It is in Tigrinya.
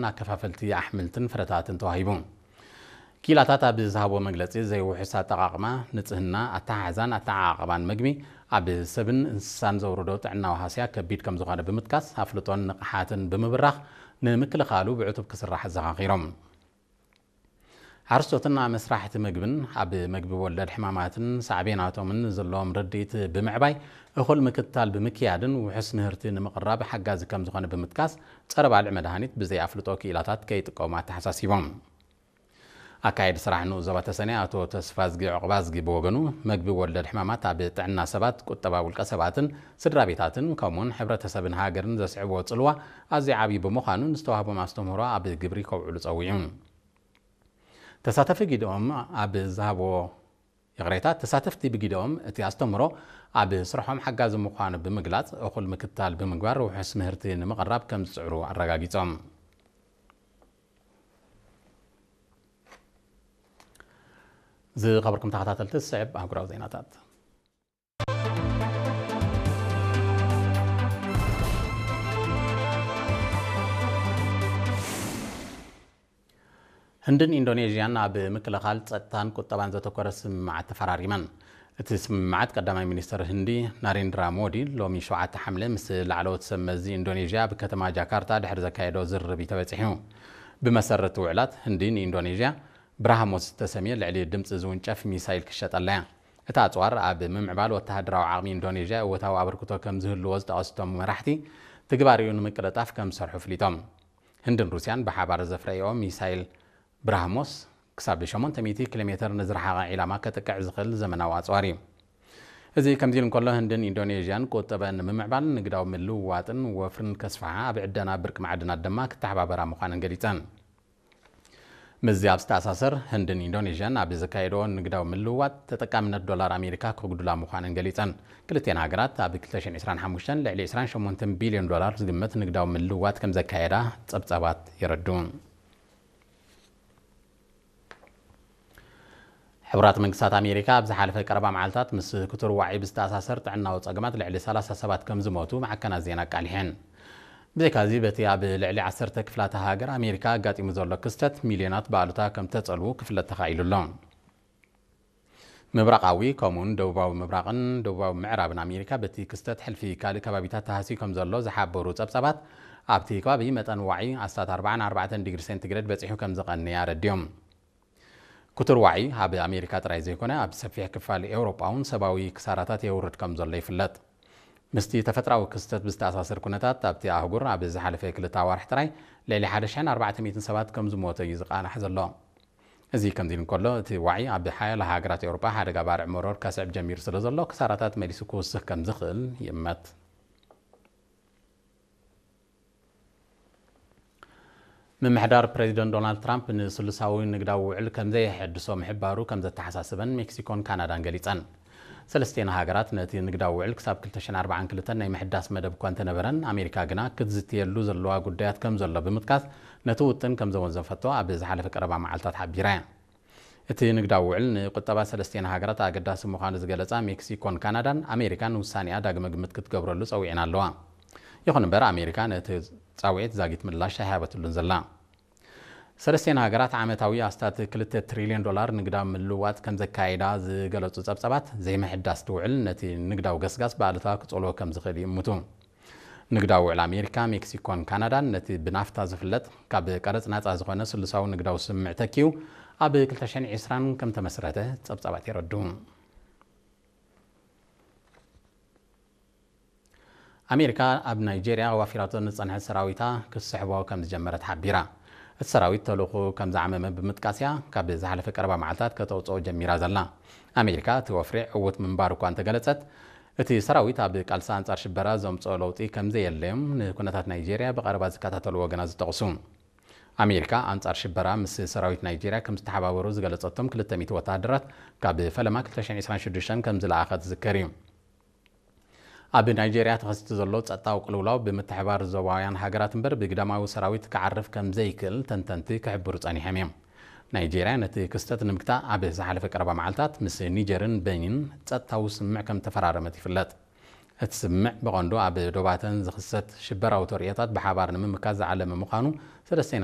ኣከፋፈልቲ ኣሕምልትን ፍረታትን ተዋሂቡ። ኪላታት ኣብ ዝሃቦ መግለጺ፣ ዘይውሑስ ኣጠቓቕማ፣ ንጽህና፣ ኣተሓሕዛን ኣተዓቓቕባን መግቢ፣ ኣብ ሰብን እንስሳን ዘውርዶ ጥዕናዊ ሃስያ ከቢድ ከም ዝኾነ ብምጥቃስ፣ ኣፍልጦን ንቕሓትን ብምብራኽ ንምክልኻሉ ብዕቱብ ክስራሕ ኣዘኻኺሮም። ሓረስቶትን ኣመስራሕቲ መግብን ኣብ መግቢ ወለድ ሕማማትን ሳዕቤናቶምን ዘለዎም ርድኢት ብምዕባይ፣ እኹል ምክትታል ብምክያድን ውሑስ ምህርቲ ንምቕራብ ሓጋዚ ከም ዝኾነ ብምጥቃስ፣ ጸረ ባልዕ መድሃኒት ብዘይ ኣፍልጦ ክኢላታት ከይጥቀሙ ኣተሓሳሲቦም። ኣካየዲ ስራሕ ንኡስ ዞባ ተሰነይ ኣቶ ተስፋዝጊ ዑቕባዝጊ ብወገኑ፣ መግቢ ወለድ ሕማማት ኣብ ጥዕና ሰባት፣ ቁጠባ ውልቀ ሰባትን ስድራ ቤታትን ከምኡውን ሕብረተሰብን ሃገርን ዘስዕቦ ጽልዋ ኣዝዩ ዓብዪ ብምዃኑ፣ ንዝተዋህቦም ኣስተምህሮ ኣብ ግብሪ ከውዕሉ ጸዊዑ። ተሳተፊ ጊደኦም ኣብ ዝሃቦ ይቕሬታ፣ ተሳተፍቲ ብጊደኦም እቲ ኣስተምህሮ ኣብ ስርሖም ሓጋዚ ምዃኑ ብምግላጽ፣ እኹል ምክትታል ብምግባር ውሑስ ምህርቲ ንምቕራብ ከም ዝጽዕሩ ኣረጋጊጾም። ዝኸበርኩም ተኸታተልቲ፣ ዝስዕብ ኣህጉራዊ ዜናታት። ህንድን ኢንዶኔዥያን ኣብ ምክልኻል፣ ጸጥታን ቁጠባን ዘተኮረ ስምምዓት ተፈራሪመን። እቲ ስምምዓት ቀዳማይ ሚኒስትር ህንዲ ናሬንድራ ሞዲ ሎሚ ሸውዓተ ሓምለ ምስ ላዕለዎት ሰብ መዚ ኢንዶኔዥያ ኣብ ከተማ ጃካርታ ድሕሪ ዘካየዶ ዝርርብ እዩ ተበጺሑ። ብመሰረት ውዕላት፣ ህንዲ ንኢንዶኔዥያ ብራህሞስ ዝተሰምየ ልዕሊ ድምጺ ዝውንጨፍ ሚሳይል ክሸጠላ እያ። እቲ ኣጽዋር ኣብ ምምዕባል ወተሃደራዊ ዓቕሚ ኢንዶኔዥያ እወታዊ ኣበርክቶ ከም ዝህልዎ ዝጠቐሱ እቶም መራሕቲ፣ ትግባሬኡ ንምቅልጣፍ ከም ዝሰርሑ ኣፍሊጦም። ህንድን ሩስያን ብሓባር ዘፍረይኦ ሚሳይል ብራህሞስ ክሳብ ሸሞንተ ሚእቲ ኪሎ ሜተር ንዝረሓቐ ዒላማ ከጥቅዕ ዝኽእል ዘመናዊ ኣጽዋር እዩ። እዚ ከምዚ ኢሉ እንከሎ፣ ህንድን ኢንዶኔዥያን ቁጠበን ንምምዕባል፣ ንግዳዊ ምልውዋጥን ወፍርን ከስፍሓ፣ ኣብ ዕደና ብርቂ ማዕድናት ድማ ክተሓባበራ ምዃነን ገሊጸን። ምስዚ ኣብ ዝተኣሳሰር፣ ህንድን ኢንዶኔዥያን ኣብ ዘካየድኦ ንግዳዊ ምልውዋጥ፣ ተጠቃምነት ዶላር ኣሜሪካ ክጉድላ ምዃነን ገሊጸን። ክልቲኤን ሃገራት ኣብ ክልተ ሽሕን ዕስራን ሓሙሽተን ልዕሊ ዕስራን ሸሞንተን ቢልዮን ዶላር ዝግመት ንግዳዊ ምልውዋጥ ከም ዘካየዳ ጸብጻባት የረድኡ። ሕቡራት መንግስታት ኣሜሪካ ኣብ ዝሓለፈ ቀረባ መዓልታት ምስ ክቱር ዋዒ ብዝተኣሳሰር ጥዕናዊ ጸገማት ልዕሊ ሰላሳ ሰባት ከም ዝሞቱ ማዕከናት ዜና ኣቃሊሐን። ብዘይካዚ፣ በቲ ኣብ ልዕሊ ዓሰርተ ክፍላተ ሃገር ኣሜሪካ ኣጋጢሙ ዘሎ ክስተት፣ ሚልዮናት ብኣሉታ ከም ተጸልዉ ክፍለጥ ተኻኢሉ ኣሎ። ምብራቓዊ፣ ከምኡውን ደቡባዊ ምብራቕን ደቡባዊ ምዕራብን ኣሜሪካ በቲ ክስተት ሕልፊ ካልእ ከባቢታት ተሃስዩ ከም ዘሎ ዝሓበሩ ጸብጻባት፣ ኣብቲ ከባቢ መጠን ዋዒ ኣስታት ኣርባዓን ኣርባዕተን ዲግሪ ሴንቲግሬድ በጺሑ ከም ዝቐንየ ኣረድዮም። ክቱር ዋዒ ኣብ ኣሜሪካ ጥራይ ዘይኮነ፣ ኣብ ሰፊሕ ክፋል ኤውሮጳ እውን ሰብኣዊ ክሳራታት የውርድ ከም ዘሎ ይፍለጥ። ምስቲ ተፈጥራዊ ክስተት ብዝተኣሳሰር ኩነታት፣ ኣብቲ ኣህጉር ኣብ ዝሓለፈ ክልተ ኣዋርሕ ጥራይ ልዕሊ ሓደ ሽሕን ኣርባዕተ ሚእትን ሰባት ከም ዝሞተ እዩ ዝቃላሕ ዘሎ። እዚ ከምዚ ኢሉ እንከሎ፣ እቲ ዋዒ ኣብ ሓያሎ ሃገራት ኤውሮጳ ሓደጋ ባርዕ መሮር ከስዕብ ጀሚሩ ስለ ዘሎ፣ ክሳራታት መሊሱ ክውስኽ ከም ዝኽእል ይእመት። ምምሕዳር ፕሬዚደንት ዶናልድ ትራምፕ ንስሉሳዊ ንግዳዊ ውዕል ከም ዘየሐድሶ ምሕባሩ ከም ዘተሓሳሰበን ሜክሲኮን ካናዳን ገሊጸን። ሰለስቲኤን ሃገራት ነቲ ንግዳዊ ውዕል ክሳብ ክልተ ሽሕን ኣርባዓን ክልተን ናይ ምሕዳስ መደብ እኳ እንተነበረን፣ ኣሜሪካ ግና ክትዝትየሉ ዘለዋ ጉዳያት ከም ዘሎ ብምጥቃስ፣ ነቲ ውጥን ከም ዘወንዘፈቶ ኣብ ዝሓለፈ ቀረባ መዓልታት ሓቢራ እያ። እቲ ንግዳዊ ውዕል ንቁጠባ ሰለስቲኤን ሃገራት ኣገዳሲ ምዃኑ ዝገለጻ ሜክሲኮን ካናዳን፣ ኣሜሪካ ንውሳኔኣ ዳግመ ግምት ክትገብረሉ ጸዊዐን ኣለዋ። ይኹን እምበር፣ ኣሜሪካ ነቲ ጻውዒት ዛጊት ምላሽ ኣይሃበትሉን ዘላ። ሰለስቲኤን ሃገራት ዓመታዊ ኣስታት ክልተ ትሪልዮን ዶላር ንግዳዊ ምልውዋጥ ከም ዘካየዳ ዝገለጹ ጸብጻባት፣ ዘይምሕዳስ እቲ ውዕል ነቲ ንግዳዊ ገስጋስ ብኣሉታ ክጸልዎ ከም ዝኽእል ይእምቱ። ንግዳዊ ውዕል ኣሜሪካ፣ ሜክሲኮን ካናዳን ነቲ ብናፍታ ዝፍለጥ ካብ ቀረጽ ናጻ ዝኾነ ስሉሳዊ ንግዳዊ ስምምዕ ተኪኡ ኣብ ክልተ ሽሕን ዕስራን ከም ተመስረተ ጸብጻባት የረድኡ። ኣሜሪካ ኣብ ናይጄርያ ዋፊራቶ ዝጸንሐት ሰራዊታ ክትስሕቦ ከም ዝጀመረት ሓቢራ። እቲ ሰራዊት ተልእኾ ከም ዝዓመመ ብምጥቃስ እያ ካብ ዝሓለፈ ቀረባ መዓልታት ከተውጽኦ ጀሚራ ዘላ። ኣሜሪካ እቲ ወፍሪ ዕዉት ምንባሩ እኳ እንተገለጸት፣ እቲ ሰራዊት ኣብ ቃልሲ ኣንጻር ሽበራ ዘምጽኦ ለውጢ ከም ዘየለዮም ንኩነታት ናይጄርያ ብቐረባ ዝከታተሉ ወገናት ዝጠቕሱ። ኣሜሪካ ኣንጻር ሽበራ ምስ ሰራዊት ናይጄርያ ከም ዝተሓባበሩ ዝገለጸቶም ክልተ ሚእቲ ወተሃደራት ካብ ፈለማ ክልተ ሽሕን ዕስራን ሽዱሽተን ከም ዝለኣኸት ዝዝከር እዩ። ኣብ ናይጄርያ ተኸሲቱ ዘሎ ጸጥታዊ ቅልውላው ብምትሕባር ዞባውያን ሃገራት እምበር ብግዳማዊ ሰራዊት ክዓርፍ ከም ዘይክእል ተንተንቲ ክሕብሩ ጸኒሖም እዮም። ናይጄርያ ነቲ ክስተት ንምግታእ ኣብ ዝሓለፈ ቀረባ መዓልታት ምስ ኒጀርን በኒን ጸጥታዊ ስምምዕ ከም ተፈራረመት ይፍለጥ። እቲ ስምምዕ ብቐንዱ ኣብ ዶባተን ዝኽሰት ሽበራዊ ተርእዮታት ብሓባር ንምምካት ዝዓለመ ምዃኑ ሰለስቲኤን